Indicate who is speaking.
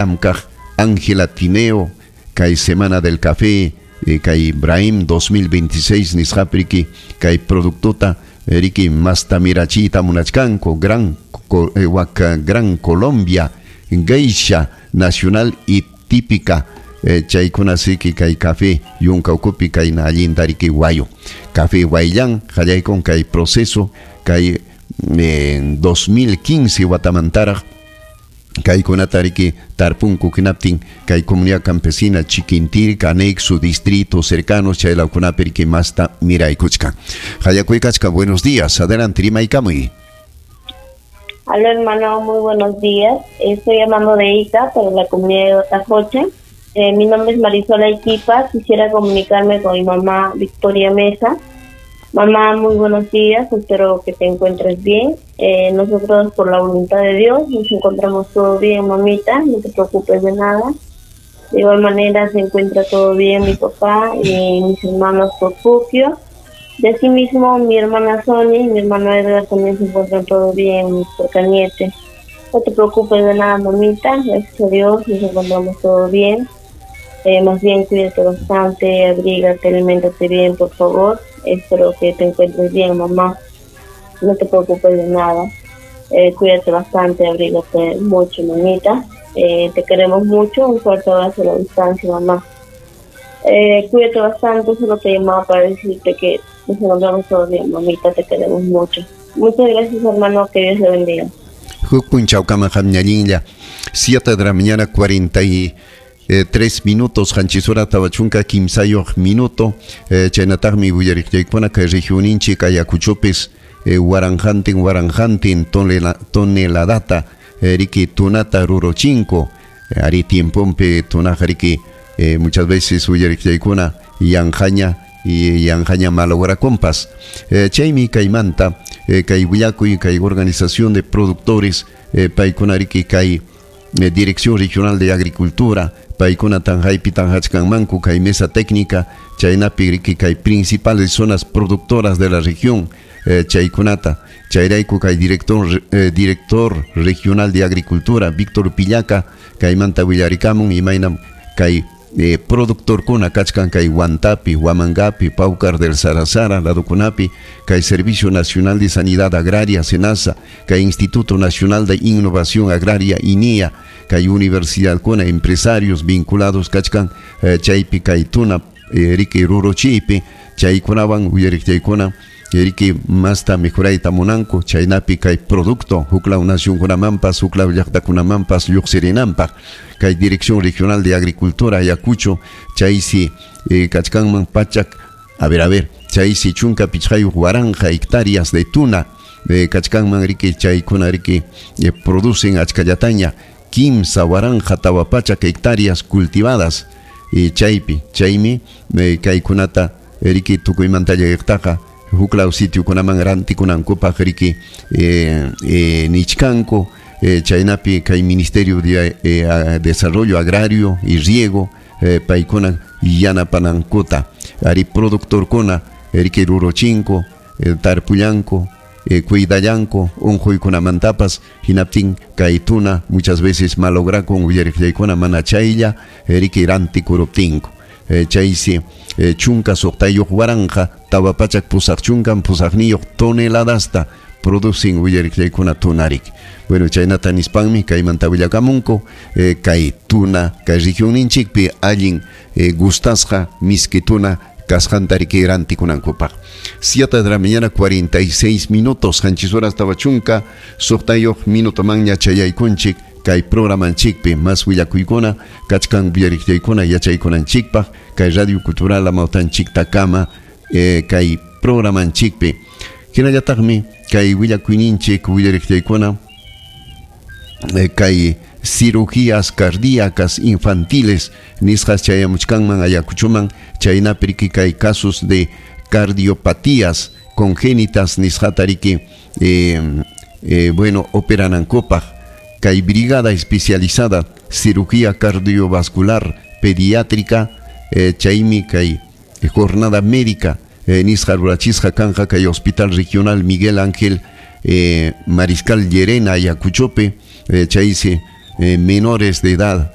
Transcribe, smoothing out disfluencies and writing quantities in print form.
Speaker 1: Llamkaq Ángela Tineo kay Semana del Café kay Ibrahim 2026 nisqapi riki kay productota riki masta mirachiyta munachkanku Gran wak Gran Colombia Geisha Nacional y Típica chaykuna siki kay café yunka ukupi kayna allinta riki wayu café wayllan qallaykun kay proceso kay 2015 watamantaraq kaykunata riki tarpunku hinaptin kay comunidad campesina Chiquintirca, anexo, distrito cercanos chaylawkunapi riki masta miraykuchkan. Hayakuykachka, buenos días, adelante, rimaykamuy.
Speaker 2: Aló hermano, muy buenos días. Estoy llamando de Ica, para la comunidad de Otajoche. Mi nombre es Marisol Aiquipa, quisiera comunicarme con mi mamá Victoria Mesa. Mamá, muy buenos días, espero que te encuentres bien. Nosotros, por la voluntad de Dios, nos encontramos todo bien, mamita, no te preocupes de nada. De igual manera se encuentra todo bien mi papá y mis hermanos Porfupio. De asimismo, mi hermana Sonia y mi hermano Edgar también se encuentran todo bien, por Cañete. No te preocupes de nada, mamita, gracias a Dios nos encontramos todo bien. Más bien cuídate bastante, abrígate, aliméntate bien, por favor. Espero que te encuentres bien, mamá. No te preocupes de nada. Cuídate bastante, abrígate mucho, mamita. Te queremos mucho. Un fuerte abrazo a la distancia, mamá. Cuídate bastante, solo te llamaba para decirte que nos encontramos todo bien, mamita, te queremos mucho. Muchas gracias, hermano, que Dios le bendiga.
Speaker 1: Huk punchawkama qamñallinlla, 7 de la mañana, 43 minutos, qanchis hora tawa chunka kimsayuq minuto, chaynataqmi willariqllaykuna kay regioninchik Ayacuchopis waranqantin waranqantin toneladata riki tunata ruruchinko, ari tiempompi tunaqa riki muchas veces willariqllaykuna yanqaña y yanqaña malograkunpas. Chaymi kaymanta kay willakuy kay organización de productores paykuna riki kay Dirección Regional de Agricultura paykuna tanjaypi tanjachkanmanku kay mesa técnica chaynapi riki kay principales zonas productoras de la región chaykunata chayrayku kay director regional de Agricultura Víctor Pillaca kaymanta willarikamun imaynam kay productorkuna kachkan kay Huantapi, Huamangapi, Paucar del Sarasara, ladukunapi, kay Servicio Nacional de Sanidad Agraria, SENASA, kay Instituto Nacional de Innovación Agraria, INIA, kay universidadkuna, empresarios vinculados kachkan chaypi kay tuna riki ruruchiypi, chaykunawan uyariqchaykuna riki masta mejorayta munanku, chaynapi kay producto huklaw nacionkunamanpas, huklaw llaqtakunamanpas lluqsirinanpaq. Kay Dirección Regional de Agricultura Ayacucho, chaysi kachkanman pachak, a ver, chaysi chunka pichqayuq waranqa hectáreas de tuna kachkanman riki chaykuna riki producen achkallataña kimsa waranqa tawa pachak hectáreas cultivadas chaypi, chaymi kaykunata riki tukuymanta llegaqtaqa huklaw sitiokunaman rantikunankupaq riki nichkanku chaynapi kay Ministerio de Desarrollo Agrario y Riego paykuna yanapanankuta ari productorkuna riki ruruchinku tarpullanku cuidallanku unquykunamantapas hinaptin kay tuna muchas veces malograkun willariqllaykuna mana chaylla riki rantikuruptinku chaysi chunka suqtayuq waranqa tawa pachak pusaq chunkan pusaqniyuq toneladasta producen willariqllaykuna tunarik. Bueno, chaynata nispanmi kaymanta willakamunku kay tuna kay regionninchikpi allin gustasqa miski tuna kasqanta riki rantikunankupaq. 7 de la mañana 46 minutos, qanchis horas tawa chunka suqtayuq minutomanña chayaykunchik kay programanchikpi mas willakuykuna kachkan willariqllaykuna yachaykunanchikpaq kay Radio Cultural Amawtanchiktakama kay programanchikpi. Hinallataqmi kay willakuyninchik willariqllaykuna kay cirugías cardíacas infantiles nisqas chayamuchkanman Ayacuchoman chaynapi riki kay casos de cardiopatías congénitas nisqata riki bueno operanankupaq kay brigada especializada cirugía cardiovascular pediátrica chaymi kay jornada médica nisqa rurachisqa kanja kay Hospital Regional Miguel Ángel Mariscal Llerena Ayacuchope chaysi Menores de edad.